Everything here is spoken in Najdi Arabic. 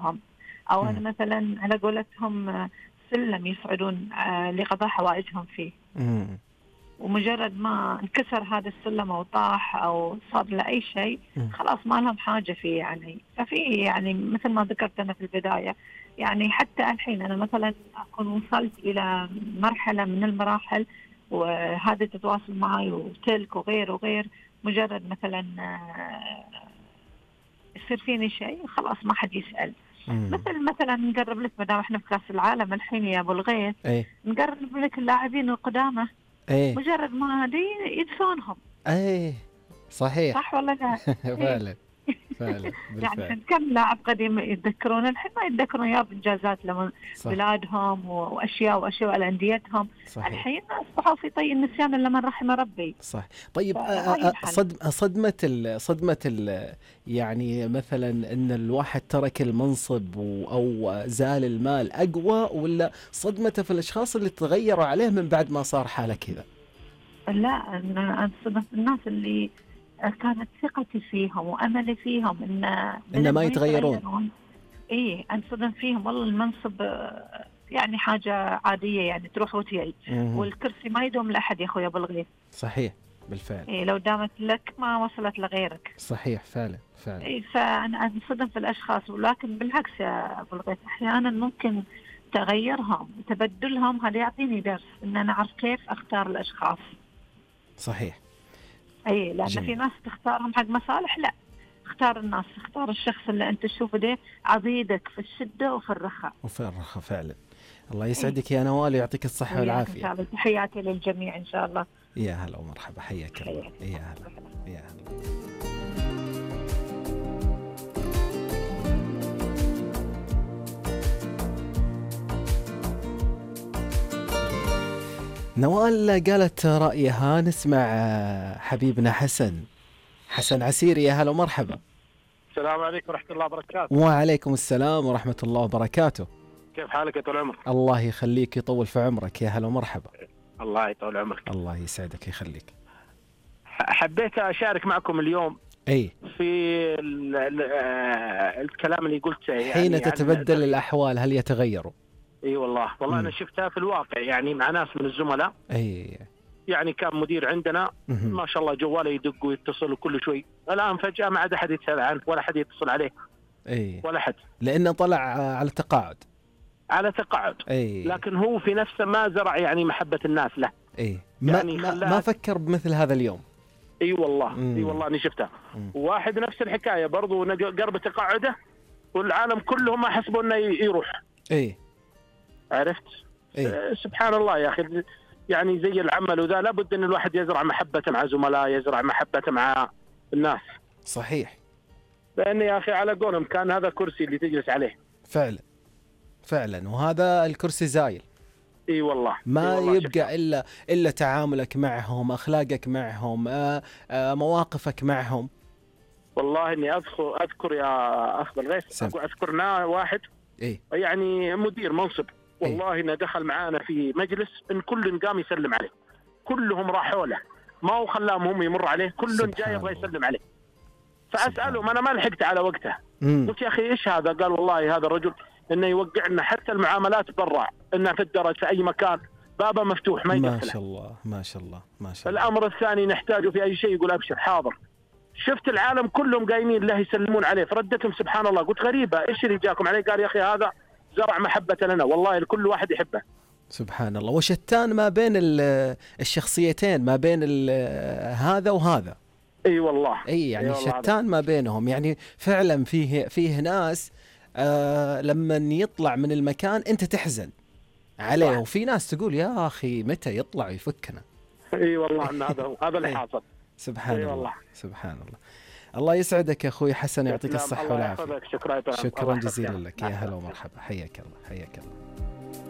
لهم، أو أنا مثلا على قولتهم سلم يصعدون لقضاء حوائجهم فيه، ومجرد ما انكسر هذا السلم أو طاح أو صار له أي شيء خلاص ما لهم حاجة فيه. يعني ففي يعني مثل ما ذكرت أنا في البداية، يعني حتى الحين أنا مثلا أكون وصلت إلى مرحلة من المراحل وهذا تتواصل معي وتلك وغير وغير، مجرد مثلا يصير فيني شيء خلاص ما حد يسأل. مثلا نقرب لك، مدام احنا في كأس العالم الحين يا أبو الغيث، نقرب لك اللاعبين القدامى، مجرد ما هذه يدفونهم. صحيح، صح ولا لا؟ فعلا فعلا يعني كم لاعب قديم يتذكرون الحين ما يتذكرون يا بإنجازات لما بلادهم وأشياء على أنديتهم. الحين أصبحوا في طي النسيان إلا من رحم ربي. صح. طيب صدمة يعني مثلا إن الواحد ترك المنصب أو زال المال أقوى، ولا صدمته في الأشخاص اللي تغيروا عليه من بعد ما صار حاله كذا؟ لا، أنا صدمت الناس اللي كانت ثقتي فيهم وأملي فيهم إن ما يتغيرون. أنصدم فيهم. والله المنصب يعني حاجة عادية، يعني تروح وتيجي، والكرسي ما يدوم لأحد يا أخوي أبو الغيث. صحيح بالفعل. لو دامت لك ما وصلت لغيرك. صحيح فعلا. فأنا أنصدم في الأشخاص، ولكن بالعكس يا أبو الغيث أحيانا ممكن تغيرهم وتبدلهم هذا يعطيني درس إن أنا أعرف كيف أختار الأشخاص. صحيح. لأن في ناس تختارهم حق مصالح، لا، اختار الناس، اختار الشخص اللي أنت تشوفه ده عضيدك في الشدة وفي الرخاء. فعلا. الله يسعدك يا نوال ويعطيك الصحة والعافية. إن شاء الله. تحياتي للجميع إن شاء الله. يا هلا ومرحبا، حياك الله. يا هلا. نوال قالت رأيها. نسمع حبيبنا حسن عسيري. يا هلا ومرحبا. السلام عليكم ورحمة الله وبركاته. وعليكم السلام ورحمة الله وبركاته. كيف حالك يا طول عمرك؟ الله يخليك، يطول في عمرك. يا هلا ومرحبا. الله يطول عمرك. الله يسعدك يخليك. حبيت أشارك معكم اليوم في الكلام اللي قلته. يعني حين تتبدل الأحوال هل يتغيروا؟ والله أنا شفتها في الواقع، يعني مع ناس من الزملاء. يعني كان مدير عندنا ما شاء الله جواله يدق ويتصل كل شوي، الآن فجأة ما عاد أحد يتسأل عنه ولا أحد يتصل عليه. ولا حد، لأنه طلع على تقاعد. لكن هو في نفسه ما زرع يعني محبة الناس له. يعني ما فكر بمثل هذا اليوم. والله أنا شفتها. واحد نفس الحكاية برضو قرب تقاعده والعالم كلهم ما حسبوا إنه يروح. عرفت؟ سبحان الله يا أخي، يعني زي العمل وذا لابد أن الواحد يزرع محبته مع زملاء، يزرع محبته مع الناس. صحيح. لأن يا أخي على قولهم كان هذا كرسي اللي تجلس عليه. فعلا وهذا الكرسي زايل. والله ما يبقى إلا تعاملك معهم، أخلاقك معهم، مواقفك معهم. والله إني أذكر يا أخ بالغيث، أذكرنا واحد يعني مدير منصب، والله إنه دخل معانا في مجلس إن كل قام يسلم عليه، كلهم راحوا له، ما هو خلاهم هم يمر عليه، كل جاي يبغى يسلم عليه. فأسألهم، أنا ما لحقت على وقته، قلت يا أخي إيش هذا؟ قال والله هذا الرجل إنه يوقعنا حتى المعاملات برا، إنه في الدرج في أي مكان بابه مفتوح ما يقفله. ما شاء الله. الأمر الثاني نحتاجه في أي شيء يقول أبشر حاضر. شفت العالم كلهم قايمين له يسلمون عليه، فردتهم سبحان الله. قلت غريبة إيش اللي جاكم عليه؟ قال يا أخي هذا زرع محبة لنا، والله كل واحد يحبه. سبحان الله. وشتان ما بين الشخصيتين، ما بين هذا وهذا. والله يعني شتان ما بينهم. يعني فعلا فيه ناس لما يطلع من المكان أنت تحزن عليه، وفي ناس تقول يا أخي متى يطلع يفكنا. والله أن هذا اللي حاصل. سبحان الله. الله يسعدك يا أخوي حسن، يعطيك الصحة والعافية. شكرا جزيلا لك. يا هلا ومرحبا، حياك الله.